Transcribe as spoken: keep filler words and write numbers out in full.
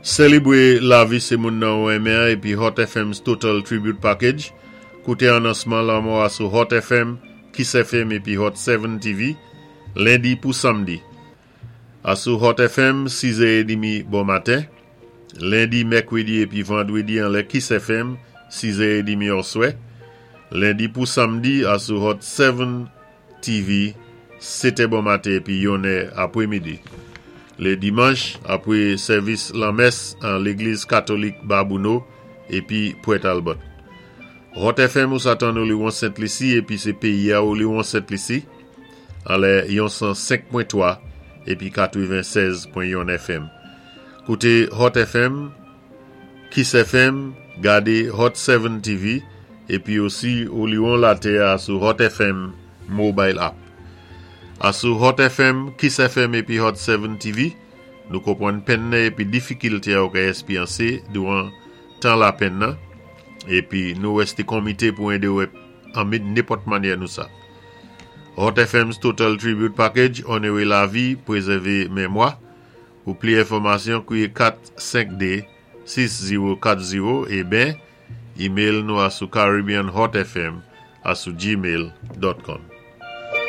Sélébwé lavi sé moun nan ou enmen épi Hot F M's Total Tribute Package. Kouté anonsman lanmò a sou Hot F M, Kiss F M épi Hot sept T V, lendi pou samdi. A sou Hot F M, sis è trant bon maten. Lendi, mèkwédi épi vandwédi anlè Kiss F M, sis è trant oswè. Lendi pou samdi a sou Hot sept T V, sèt è bon maten épi yon è apwémidi. Lé dimanch, apwé sèvis lanmès an légliz katolik Babouno épi Port Talbot. Hot F M ou sa tann Oliwon Sent Lisi épi sé péyi a Oliwon Sent Lisi anlè yon san senk pwen twa épi katwennsèz pwen yon F M. Kouté Hot F M, Kiss F M, gadé Hot sept T V épi osi Oliwon latè a sou Hot F M Mobile App. A sou Hot F M, Kiss F M épi Hot sept T V, nou konpwann penn nan épi difikilté a ou ka èspéryansé douwan tan lapenn nan, épi nou wèsté konmité pou édé ou an nenpòt mannyè nou sa. Hot F M's Total Tribute Package, onoré lavi, pwézèvé mémwa. Pou pli enfòmasyon, kwiyé kat senk de sis zewo kat zewo é ben, email nou a sou caribbeanhotfm a sou gmail dot com.